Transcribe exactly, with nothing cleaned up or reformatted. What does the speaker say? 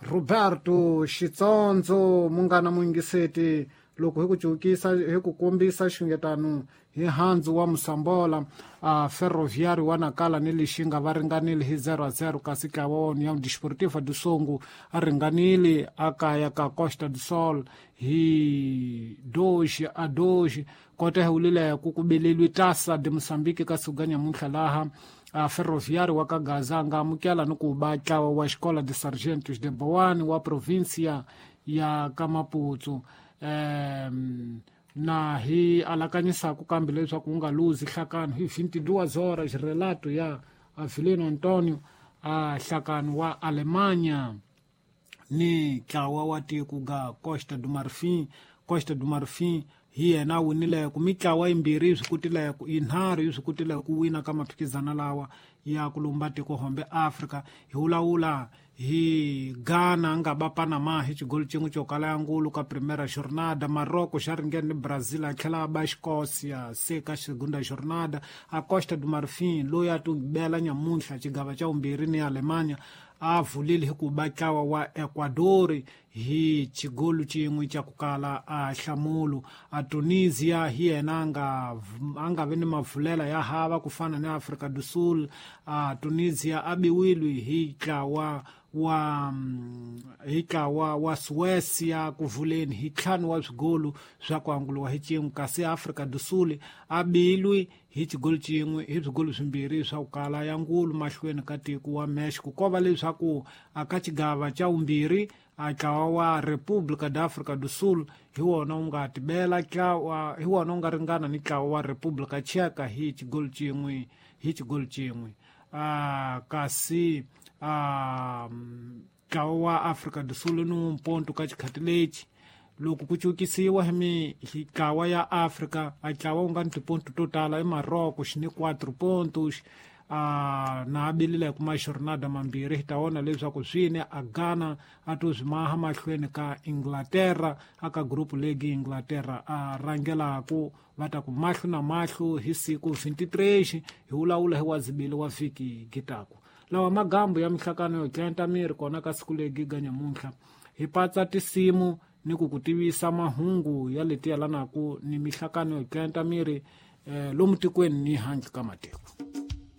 Roberto Xitsondzo munghana muyingiseti loko hi ku cukisa hi ku kombisa xungetano hi handzu wa Musambola a Ferroviário wa Nacala ni Lixinga va ringanile hi zero a zero kasi ntlawa wa União Desportiva do Songo a ringanile a kaya ka Costa do Sol hi dois a dois kota hi wulile ku ku beleliwe Taça de Moçambique ka siku ga nyamuntlha laha a Ferroviário wa ka Gaza a nga amukela ni ku ba ntlawa wa Escola de Sargentos de Boane wa província ya ka Maputo. Um, na hi alakanyisaku kambe leswaku wu nga luzi nhlakano hi vinte e duas horas relato ya Avelino Antonio a nhlakano wa Alemanha ni ntlawa wa tiko ga Costa do Marfim. Costa do Marfim hi yena a winileko mitlawa yimbirhi yi swi kotileko yinharhu yi swi kotileko ku wina ka maphikizano lawa ya ku lumba tiko hombe Afrika. Hi vulavula hi Ghana a nga ba Panama hi xigolo xin'we xo kala ya ngulu ka primera jornada. Morocco xa ringene ni Brazil a tlhela a ba Escócia se ka segunda jornada. A Costa do Marfim loyi a tibela nyamuntlha xigava xa vumbirhi ni Alemanha a vulile hi ku ba ntlawa wa Ecuador hi xigolo xin'we xa ku kala a nhlamulo. A Tunisia hi yena a nga a nga vi ni mavulela ya hava ku fana ni Afrika do Sul. A Tunisia a biwile hi ntlawa wa hi ntlawa wa Suécia ku vuleni hi ntlhanu wa swigolo swa ku anguliwa hi xin'we kasi Afrika do Sul a bilwi hi xigolo xin'we hi swigolo swimbirhi swa ku kala ya ngulu mahlweni ka tiko wa Mexico. Ko va leswaku a ka xigava xa vumbirhi a ntlawa wa República da África do Sul hi wona wu nga tibela ntlawa hi wona wu nga ringana ni ntlawa wa República Tcheca hi xigolo xin'we hi xigolo xin'we. A kasi a ntlawa wa Afrika do Sul ni mponto ka xikhati lexi loko ku cukisiwa hi mitlawa ya Afrika a ntlawa wu nga ni tiponto to tala i Morocco xi ni quatro pontos a na abilile kuma jornada mambirhi hi ta vona leswaku swini a Ghana a to swi maha mahlweni ka Inglaterra a ka group league Inglaterra a rhangelaku va ta ku mahlo na mahlo hi siku vinte e três hi vulavula hi wa zibili wa vhiki gitaku lawa magambu ya mihlakano yo tlenta miri kona ka siku legi ga nyamuntlha hi patsa tisimu ni ku ku tivisa mahungu ya leti yalanaku ni mihlakano yo tlenta miri eh, lomu tikweni ni handle ka matiko.